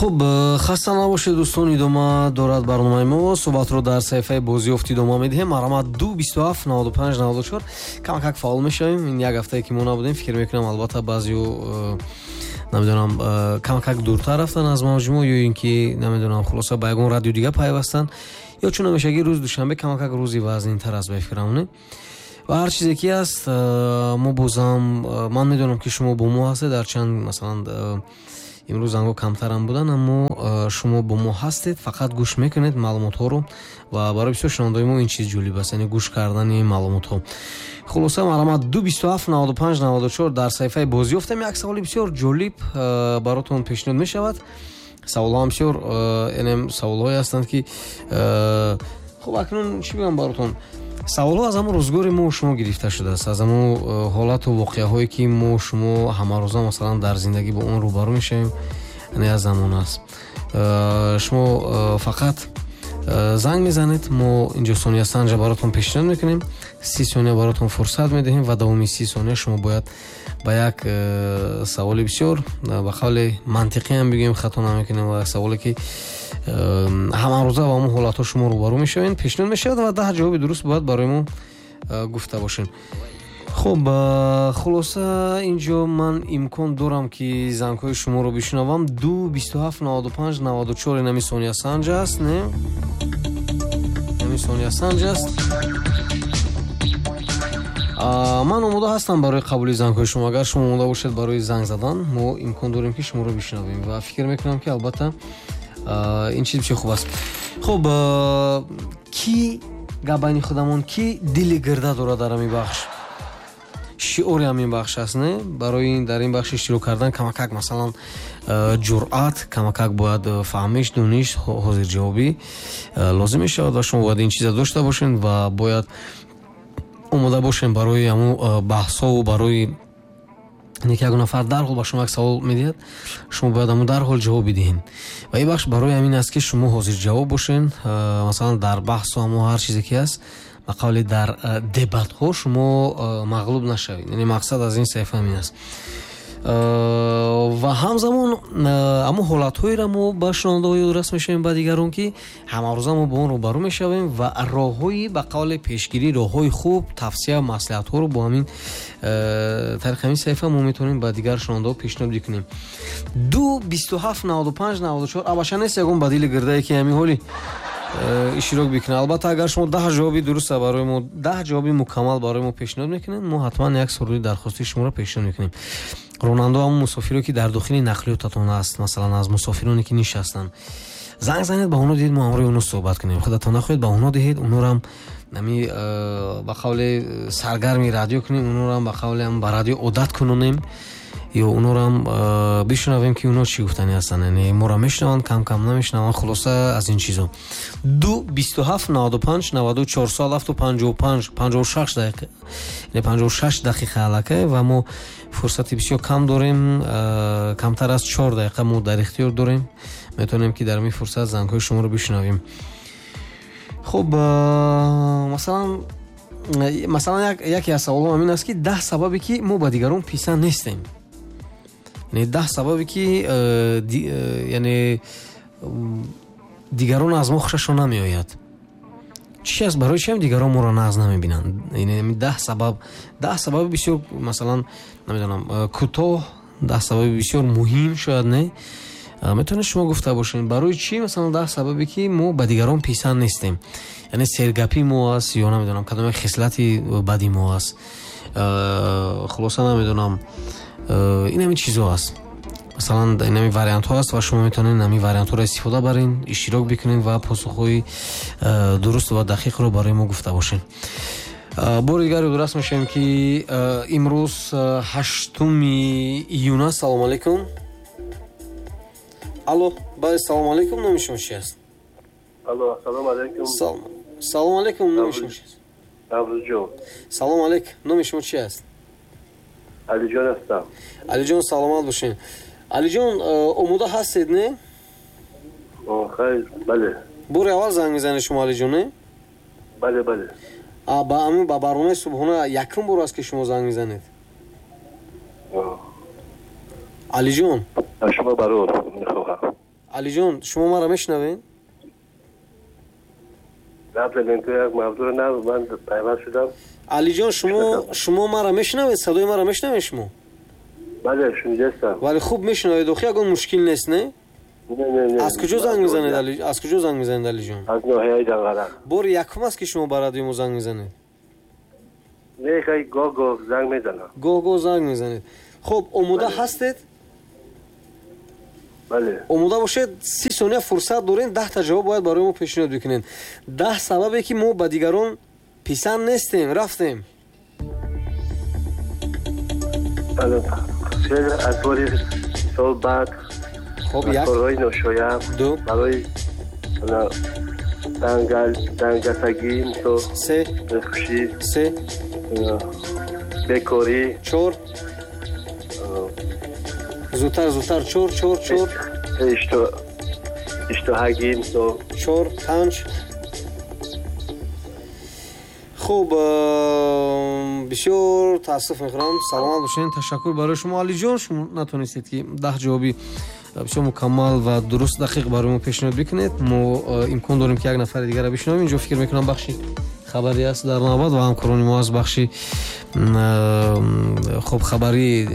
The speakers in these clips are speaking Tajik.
Хуб, хаста набошед, дӯстон, идома дорад барномаи мо. Суҳбатро дар саҳифаи бозиёфт идома медиҳем. Марҳамат, 2 27 95 94. Камакак фаъол мешавем. Ин як ҳафтае ки мо набудем, фикр мекунам, албатта, баъзео, намедонам, камакак дуртар рафтан аз мавҷи мо ё ин ки, намедонам, хулоса, ба ягон радио дига пайвастанд, ё чун ҳамешагӣ рӯзи душанбе камакак рӯзи вазнинтар аст, ба фикрам, не? Ва ҳар чизе ки аст, мо бозам, ман медонам, ки шумо бо мо ҳастед. Ҳарчанд, масалан, имрӯз зангҳо камтарам буданд, аммо шумо бо мо ҳастед, фақат гӯш мекунед маълумотҳоро, ва барои бисёр шунавандаои мо ин чиз ҷолиб аст, яъне гӯш кардани маълумотҳо. Хулоса, марҳамат, 2 27 95 94. Дар саҳифаи бозиёфтам як саволи бисёр ҷолиб баротон пешниҳод мешавад. Саволҳоам бисёр, яъне саволҳое ҳастанд, ки, хуб, акнун чӣ бигӯям баротон, саволҳо аз ҳамон рӯзгори мо шумо гирифта шудааст, аз ҳамон ҳолату воқеаҳое, ки мо шумо ҳамарӯза, масалан, дар зиндагӣ бо он рӯбарӯ мешавем, яъне аз замон аст. Шумо фақат занг мезанед, мо инҷо сониясанҷа баротон пешниҳод мекунем, 30 сония баротон фурсат медиҳем ва давоми 30 сония шумо бояд ба як саволи бисёр, ба қавли мантиқӣ ҳам бигӯем, хато намекунем, ва саволе, ки ҳамарӯза ба ҳамон ҳолатҳо шумо рӯбарӯ мешавед, пешниҳод мешавад ва 10 ҷавоби дуруст бояд барои мо гуфта бошем. Хуб, хулоса, инҷо ман имкон дорам, ки зангҳои шуморо бишунавам. 2 27 95 94, инами сониясанҷ аст, не, инами сониясанҷ аст. Ман омода ҳастам барои қабули зангҳои шумо. Агар шумо омода бошед барои занг задан, мо имкон дорем, ки шуморо бишунавем, ва фикр мекунам, ки албатта ин чиз бисёр хуб аст. Хуб, ки гап байни худамон, ки дили гирда дорад дар ҳамин бахш? Шиори ҳамин бахш аст, не? Барои дар ин бахш иштирок кардан камакак, масалан, ҷуръат, камакак бояд фаҳмиш, дониш, ҳозирҷавобӣ лозим мешавад ва шумо бояд ин чиза дошта бошед ва бояд омода бошем барои ҳамун баҳсҳову барои ин ки ягон нафар дарҳол ба шумо як савол медиҳад, шумо бояд ҳамун дарҳол ҷавоб бидиҳед. Ва ин бахш барои ҳамин аст, ки шумо ҳозирҷавоб бошед, масалан, дар баҳсу ҳамо ҳар чизе ки ҳаст, ба қавли дар дебатҳо шумо мағлуб нашавед. Яъне мақсад аз ин саҳифа ҳамин аст. Ва ҳамзамон ҳамон ҳолатҳоеро мо ба шунавандаҳо ёдрас мешавем, ба дигарон, ки ҳамарӯза мо бо он рӯбарӯ мешавем, ва роҳҳои, ба қавли пешгирӣ, роҳҳои хуб, тавсия, маслиҳатҳоро бо ҳамин тариқи ҳамин саҳифа мо метавонем ба дигар шунавандаҳо пешниҳод бикунем. 2 27 95 94. Абаша нест ягон ба дили гирдае, ки ҳамин ҳоли иштирок бикунад? Албатта, агар шумо 10 ҷавоби дуруста барои мо, 10 ҷавоби мукаммал барои мо пешниҳод мекунед, мо ҳатман як суруди дархостии шуморо пешниҳод мекунем. Ронандао, ҳамон мусофиро, ки дар дохили нақлиётатон аст, масалан, аз мусофироне, ки нишастанд, занг занед, ба онҳо диҳед, мо ҳамроҳи онҳо суҳбат кунем. Худатон нахоҳед, ба онҳо диҳед, онҳоам ами ба қавли саргарми радио кунем, онҳоам ба қавли ба радио одат кунонем ё онҳоам бишунавем, ки онҳо чӣ гуфтанӣ ҳастанд. Яъне моро мешунаванд, кам кам намешунаванд. Хулоса, аз ин чизо. 2 27 95 94. Соат 7:55, 56 дақиқа, яъне 56 дақиқа аллакай, ва мо фурсати бисёр кам дорем, камтар аз 4 дақиқа мо дар ихтиёр дорем. Метавонем, ки дар ин фурсат зангҳои шуморо бишунавем. Хуб, масалан, яке аз саволҳо ҳамин аст, ки 10 сабабе, ки мо ба дигарон писанд нестем, яъне 10 сабабе, ки яъне дигарон аз мо хушашон намеояд. Чи аст? Барои чиам дигарон моро нағз намебинанд? Яъне 10 сабаб, 10 сабаби бисёр, масалан, намедонам, кӯтоҳ, 10 сабаби бисёр муҳим шояд, не, метавонед шумо гуфта бошед, барои чӣ, масалан, 10 сабабе, ки мо ба дигарон писанд нестем? Яъне сергапи мо аст ё, намедонам, кадом як хислати бади мо аст, хулоса, намедонам, ин ҳамин чизо аст. Масалан, ин ҳамин вариантҳо аст ва шумо метавонед ҳамин вариантҳоро истифода барен, иштирок бикунед ва посухҳои дуруст ва дақиқро барои мо гуфта бошед. Бори дигар ёдрас мешавем, ки имрӯз 8 июн аст. Салому алайкум, алло, бале, салому алайкум, номи шумо чи аст? Алло, салому алайкум. Салому алайкум, номи шумо чи аст? Наврӯзҷон. Салому алайкум, номи шумо чи аст? Алиҷон ҳастам. Алиҷон, саломат бошед. Алиҷон, омода ҳастед, не? Хайр, бале. Бори аввал занг мезанед шумо, Алиҷон, не? Бале. Ба барномаи субҳона якум бор аст, ки шумо занг мезанед, Алиҷон? Аз шумо барор мехоҳам. Алиҷон, шумо маро мешунавед? Алиҷон, шумо маро мешунавед? Садои маро мешунавед шумо? Бале, шунидастам. Вале хуб мешунавед, охи ягон мушкил нест, не? Не. Аз куҷо занг мезанед, Али? Аз куҷо занг мезанед, Алиҷон? Аз ноҳияи Данғара. Бори якум аст, ки шумо ба радио мо занг мезанед? Не, хай гоҳ-гоҳ занг мезанам. Гоҳ-гоҳ занг мезанед. Хуб, омода ҳастед? Бале. Омода бошед, 30 сония фурсат дорем, 10 та ҷавоб бояд барои мо пешниҳод бикунед. 10 сабабе ки мо ба дигарон писанд нестем. Рафтем. Бале. Аз бори сол баъд, хоб, як, корҳои ношоям, ду, барои дангасагӣ, мисол, се, бехушӣ, се, бекорӣ, чор, зудтар, зудтар, чор, чор, чор, иштоҳагӣ, мисол, чор, панҷ. Хуб, бисёр таассуф мехӯрам. Саломат бошед. Ташаккур барои шумо, Алиҷон. Шумо натонистед, ки 10 ҷавоби бисёр мукаммал ва дуруст, дақиқ барои мо пешниҳод бикунед. Мо имкон дорем, ки як нафари дигарро бишунавем. Инҷо фикр мекунам, бахши хабарӣ аст дар навбат ва ҳамкорони мо аз бахши хуб хабарӣ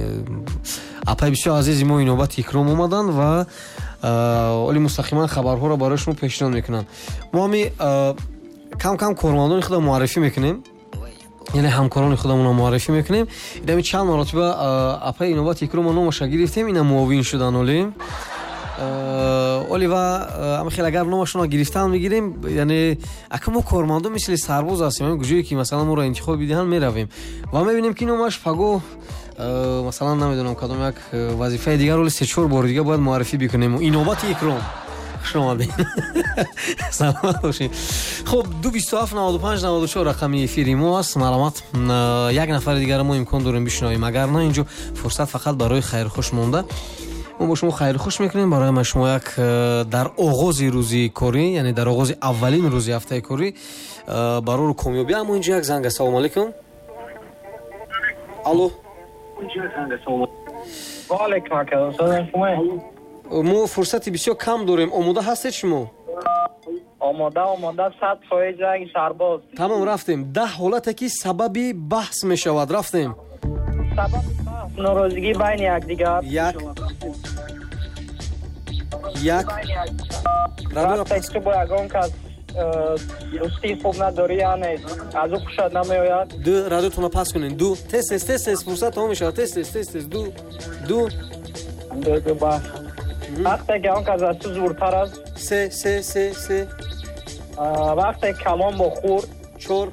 апай бисёр азизи мо Инобати Икром омаданд ва оли мустақиман хабарҳоро барои шумо пешниҳод мекунанд. Мо ҳами кам-кам кормандони худро муаррифӣ мекунем, яъне ҳамкорони худамонро муаррифӣ мекунем. Инами чанд маротиба апаи Инобати Икромо номаша гирифтем, ина муовин шудан оли. Оли ва ама хел агар номашонро гирифтан мегирем, яъне ака мо кормандон мисли сарбоз ҳастем, ҳамин куҷое ки масалан моро интихоб бидиҳанд меравем ва мебинем, ки номаш пагоҳ масалан намедонам кадом як вазифаи дигар, оли 3-4 бори дига бояд муаррифӣ бикунем. Инобати Икром, хуш омадед. Саломат бошед. Хуб, 227 95 94 рақами эфири мо аст. Марҳамат, як нафари дигарро мо имкон дорем бишунавем, агар на инҷо фурсат фақат барои хайрхуш монда. Мо бо шумо хайрхуш мекунем. Барои ма шумо як дар оғози рӯзи корӣ, яъне дар оғози аввалин рӯзи ҳафтаи корӣ барору комёбӣ. Аммо инҷо як занг. Ассалому алайкум. Алло. Ва алайкум ассалом. Мо фурсати бисёр кам дорем. Омода ҳастед шумо? Омода, омода, 100% занги сарбоз. Тамом, рафтем. 10 ҳолате ки сабаби баҳс мешавад. Рафтем. Сабаби баҳс норозигӣ байни якдигар. Як, як. Вақте ки бо ягон кас дӯстии хуб надорӣ, яъне аз ӯ хушат намеояд. Ду, радиотонро пас кунед. Ду, тез, тез, тез, тез, фурсат тамом мешавад. Тез, тез, тез, тез. Ду, ду. Ду, ду, баҳс. Вақте ки он кас аз ту зуртар аст. Се, се, се, се. Вақте калон бо хурд. Чор,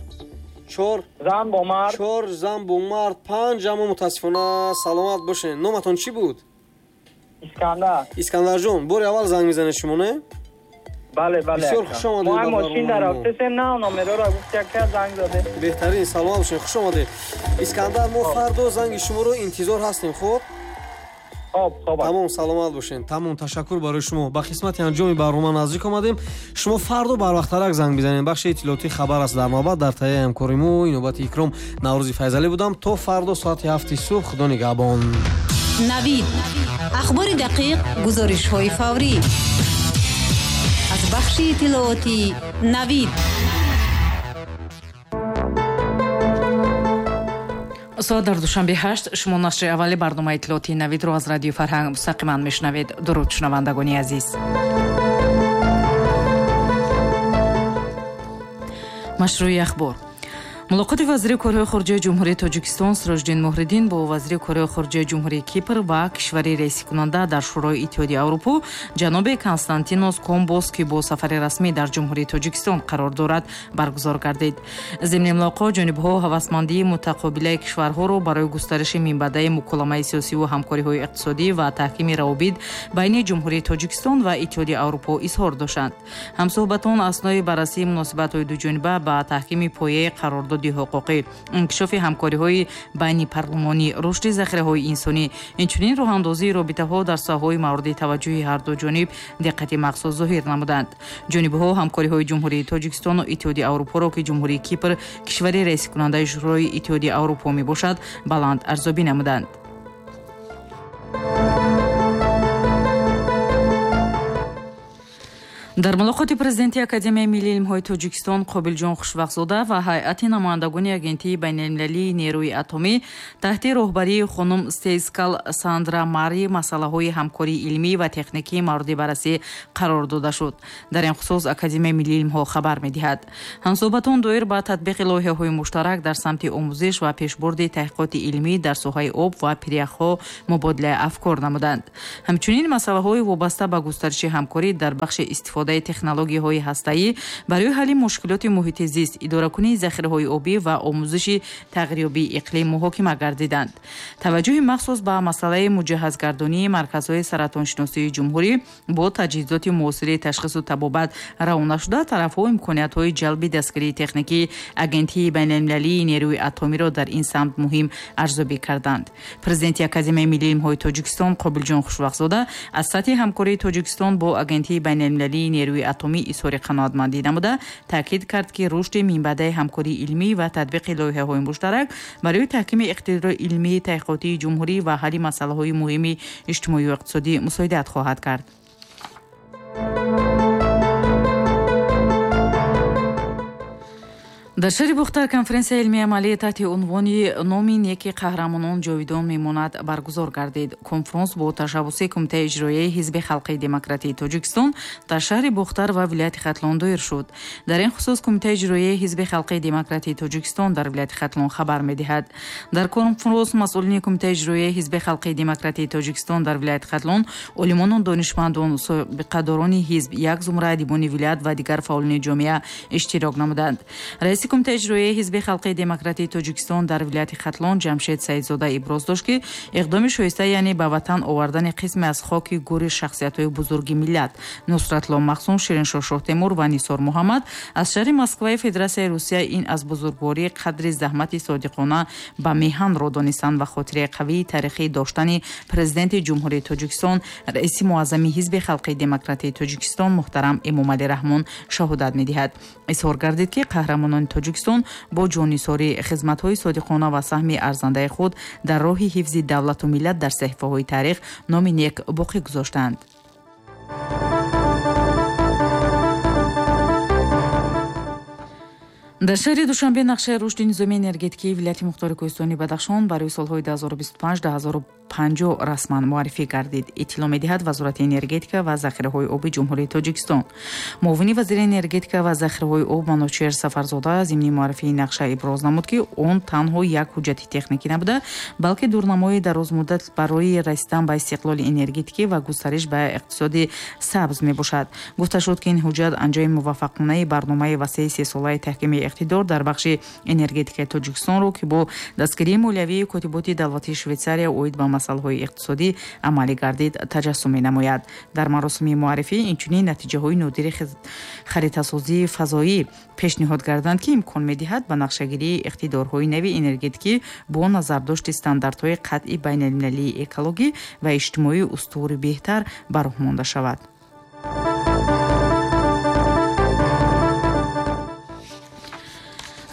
чор. Зан бо мард. Чор, зан бо мард. Панҷ. Аммо мутаассифона, саломат бошед. Номатон чӣ буд? Искандар. Искандарҷон, бори аввал занг мезанед шумо, не? Бале, бале. Бисёр хуш омадед. Мо мошин дар рафтесем, на номероро гуфт, яке занг заде. Беҳтарин, саломат бошед, хуш омадед. Искандар, мо фардо занги шуморо интизор ҳастем, хуб? Хоб, хоб. Тамом, саломат бошед. Тамом, ташаккур барои шумо. Ба қисмати анҷоми барнома наздик омадем. Шумо фардо барвақттарак занг бизанед. Бахши иттилоотии хабар аст дар навбат. Дар таҳияи ҳамкори мо Инобати Икром Наврӯзи Файзалӣ будам. То фардо соати 7 субҳ. Худо нигаҳбон. Навид. Ахбори дақиқ, гузоришҳои фаврӣ. Аз бахши иттилоотии Навид. Соат дар Душанбе 8. Шумо нашри аввали барномаи иттилоотии Навидро аз Радиои Фарҳанг мустақиман мешунавед. Дуруд, шунавандагони азиз. Машрӯи ахбор. Мулоқоти вазири корҳои хориҷаи Ҷумҳурии Тоҷикистон Сироҷиддин Муҳриддин бо вазири корҳои хориҷаи Ҷумҳурии Кипр ва кишвари раисикунанда дар Шӯрои Иттиҳоди Аврупо ҷаноби Константинос Комбос, ки бо сафари расмӣ дар Ҷумҳурии Тоҷикистон қарор дорад, баргузор гардид. Зимни мулоқот ҷонибҳо ҳавасмандии мутақобилаи кишварҳоро барои густариши минбаъдаи муколамаи сиёсиву ҳамкориҳои иқтисодӣ ва таҳкими равобит байни Ҷумҳурии Тоҷикистон ва Иттиҳоди Аврупо изҳор доштанд. Ҳамсӯҳбатон аснои баррасии муносибатҳои дуҷониба ба таҳкими пояи қарордод ҳуқуқӣ, инкишофи ҳамкориҳои байни парлумонӣ, рушди захираҳои инсонӣ, инчунин роҳандозии робитаҳо дар соҳаҳои мавриди таваҷҷӯҳи ҳарду ҷониб диққати махсус зоҳир намуданд. Ҷонибҳо ҳамкориҳои Ҷумҳурии Тоҷикистону Иттиҳоди Аврупоро, ки Ҷумҳурии Кипр кишвари раисикунандаи Шӯрои Иттиҳоди Аврупо мебошад, баланд арзёбӣ намуданд. Дар мулоқоти президенти Академияи миллии илмҳои Тоҷикистон Қобилҷон Хушвақтзода ва ҳайати намояндагони Агентии байналмилалии нерӯи атомӣ таҳти роҳбарии хонум Стейскал Сандра Мари масъалаҳои ҳамкории илмӣ ва техникӣ мавриди баррасӣ қарор дода шуд. Дар ин хусус Академияи миллии илмҳо хабар медиҳад. Ҳамсӯҳбатон доир ба татбиқи лоиҳаҳои муштарак дар самти омӯзиш ва пешбурди таҳқиқоти илмӣ дар соҳаи об ва пиряхҳо мубодилаи афкор намуданд. Ҳамчунин масъалаҳои вобаста ба густариши ҳамкорӣ дар бахши истифодаи технологияҳои ҳастаӣ барои ҳалли мушкилоти муҳити зист, идоракунии захираҳои обӣ ва омӯзиши тағйирёбии иқлим муҳокима гардиданд. Таваҷҷӯҳи махсус ба масъалаи муҷаҳҳазгардонии марказҳои саратоншиносии ҷумҳурӣ бо таҷҳизоти муосири ташхису табобат равона шуда, тарафҳо имкониятҳои ҷалби дастгирии техникии Агентии байналмилалии нерӯи атомиро дар ин самт муҳим арзёбӣ карданд. Президенти Академияи миллии илмҳои Тоҷикистон Қобилҷон Хушвақтзода аз сатҳи ҳамкории Тоҷикистон бо Агентии байналмилалии нерӯи атомӣ изҳори қаноатмандӣ намуда, таъкид кард, ки рушди минбаъдаи ҳамкории илмӣ ва татбиқи лоиҳаҳои муштарак барои таҳкими иқтидори илмии таҳқиқотии ҷумҳурӣ ва ҳалли масъалаҳои муҳими иҷтимоию иқтисодӣ мусоидат хоҳад кард. Дар шаҳри Бухтар конференсияи илмии амалӣ таҳти унвони «Номи неки қаҳрамонон ҷовидон мемонад» баргузор гардид. Конфронс бо ташаббуси Кумитаи иҷроияи Ҳизби халқии демократии Тоҷикистон дар шаҳри Бухтар ва вилояти Хатлон доир шуд. Дар ин хусус Кумитаи иҷроияи Ҳизби халқии демократии Тоҷикистон дар вилояти Хатлон хабар медиҳад. Дар конфронс масъулини Кумитаи иҷроияи Ҳизби халқии демократии Тоҷикистон дар вилояти Хатлон, олимону донишмандон, собиқадорони ҳизб, як зумра адибони вилоят ва дигар фаъолони ҷомеа иштирок намуданд. Раиси Кумитаи иҷроияи Ҳизби халқии демократии Тоҷикистон дар вилояти Хатлон Ҷамшед Саидзода иброз дошт, ки иқдоми шоиста, яъне ба ватан овардани қисме аз хоки гури шахсиятҳои бузурги миллат Нусратлло Махсум, Шириншоҳ Шоҳтемур ва Нисор Муҳаммад аз шаҳри Москваи Федератсияи Русия ин аз бузургвории қадри заҳмати содиқона ба меҳанро донистан ва хотираи қавии таърихӣ доштани президенти Ҷумҳурии Тоҷикистон, раиси муаззами Ҳизби халқии демократии Тоҷикистон муҳтарам Эмомалӣ Раҳмон шаҳодат медиҳад. Изҳор гардид, ки қаҳрамонони Тоҷикистон бо ҷоннисорӣ, хизматҳои содиқона ва саҳми арзандаи худ дар роҳи ҳифзи давлату миллат дар саҳифаҳои таърих номи нек боқӣ гузоштанд. Дар шаҳри Душанбе нақшаи рушди низоми энергетикии вилояти мухтори кӯҳистони Бадахшон барои солҳои 2025-2050 расман муаррифӣ гардид. Иттилоъ медиҳад Вазорати энергетика ва захираҳои оби Ҷумҳурии Тоҷикистон. Муовини вазири энергетика ва захираҳои об Манучер Сафарзода зимни муаррифии нақша иброз намуд, ки он танҳо як ҳуҷҷати техникӣ набуда, балки дурнамои дарозмуддат барои расидан ба истиқлоли энергетикӣ ва густариш ба иқтисоди сабз мебошад. Гуфта шуд, ки ин ҳуҷҷат анҷоми муваффақонаи барномаи васеи сесолаи таҳкими иқтидор дар бахши энергетикаи Тоҷикистонро, ки бо дастгирии молиявии Котиботи давлатии Швейтсария оид ба масъалаҳои иқтисодӣ амалӣ гардид, таҷассум менамояд. Дар маросими муаррифӣ инчунин натиҷаҳои нодири харитасозии фазоӣ пешниҳод гарданд, ки имкон медиҳад ба нақшагирии иқтидорҳои нави энергетикӣ бо назардошти стандартҳои қатъи байналмилалии экологӣ ва иҷтимоӣ устувори беҳтар ба роҳ монда шавад.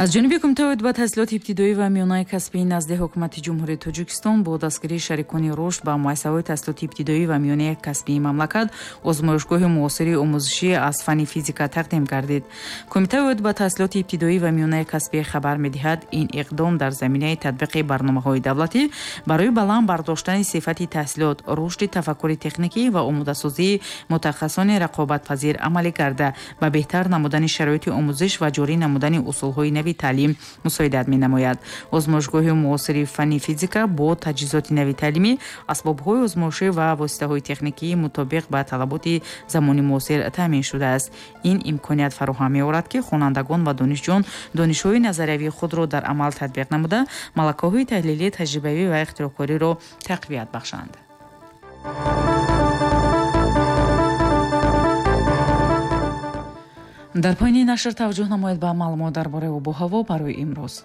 Аз ҷониби Кумитаи оид ба таҳсилоти ибтидоӣ ва миёнаи касбии назди Ҳукумати Ҷумҳурии Тоҷикистон бо дастгирии шарикони рушд ба муассисаҳои таҳсилоти ибтидоӣ ва миёнаи касбии мамлакат озмоишгоҳи муосири омӯзишӣ аз фанни физика тақдим гардид. Кумитаи оид ба таҳсилоти ибтидоӣ ва миёнаи касбӣ хабар медиҳад, ин иқдом дар заминаи татбиқи барномаҳои давлатӣ барои баланд бардоштани сифати таҳсилот, рушди тафаккури техникӣ ва омодасозии мутахассисони рақобатпазир амалӣ карда, ба беҳтар намудани шароити омӯзиш ва ҷорӣ намудани усулҳои нави таълим мусоидат менамояд. Озмоишгоҳи муосири фанни физика бо таҷҳизоти нави таълимӣ, асбобҳои озмоишӣ ва воситаҳои техникии мутобиқ ба талаботи замони муосир таъмин шудааст. Ин имконият фароҳам меорад, ки хонандагон ва донишҷӯён донишҳои назариявии худро дар амал татбиқ намуда, малакаҳои таҳлилӣ, таҷрибавӣ ва ихтироъкориро тақвият бахшанд. Дар поёни нашр таваҷҷӯҳ намоед ба маълумот дар бораи обу ҳаво барои имрӯз.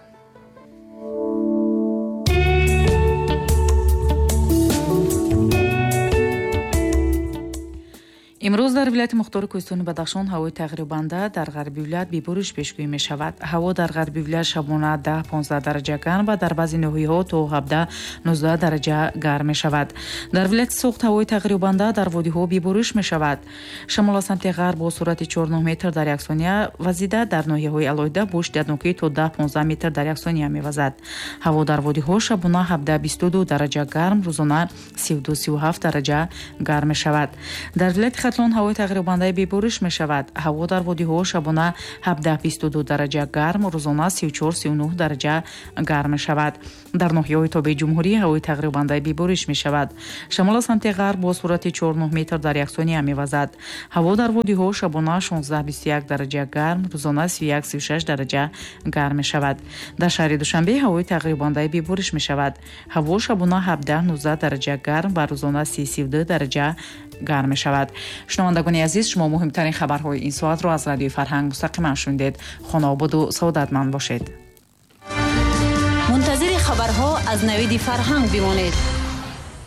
Имрӯз дар вилояти мухтори кӯҳистони Бадахшон ҳавои тағйирёбанда, дар ғарби вилоят бебориш пешгӯӣ мешавад. Ҳаво дар ғарби вилоят шабона 10-15 дараҷа гарм ва дар баъзе ноҳияҳо то 17-19 дараҷа гарм мешавад. Дар вилояти Суғд ҳавои тағйирёбанда, дар водиҳо бебориш мешавад. Шамол аз самти ғарб бо суръати 4,9 метр дар як сония вазида, дар ноҳияҳои алоҳида бо шиддатнокӣ то 10-15 метр дар як сония мевазад. Ҳаво дар водиҳо шабона 17-22 дараҷа гарм, рӯзона 32-37 дараҷа гарм мешавад. Дар вилояти Хатлон ҳавои тағйирёбандаи бебориш мешавад. Ҳаво дар водиҳо шабона 17-22 дараҷа гарм, рӯзона 34-39 дараҷа гарм мешавад. Дар ноҳияҳои тобеи ҷумҳурӣ ҳавои тағйирёбандаи бебориш мешавад. Шамол аз самти ғарб бо суръати 4,9 метр дар як сония мевазад. Ҳаво дар водиҳо шабона 16-21 дараҷа гарм, рӯзона 31-36 дараҷа гарм мешавад. Дар шаҳри Душанбе ҳавои тағйирёбандаи бебориш мешавад. Ҳаво шабона 17-19 дараҷа гарм ва рӯзона 30-32 дараҷа гарм мешавад. Шунавандагони азиз, шумо муҳимтарин хабарҳои ин соатро аз Радиои Фарҳанг мустақиман шунидед. Хонаободу саодатманд бошед. Мунтазири хабарҳо аз Навиди Фарҳанг бимонед.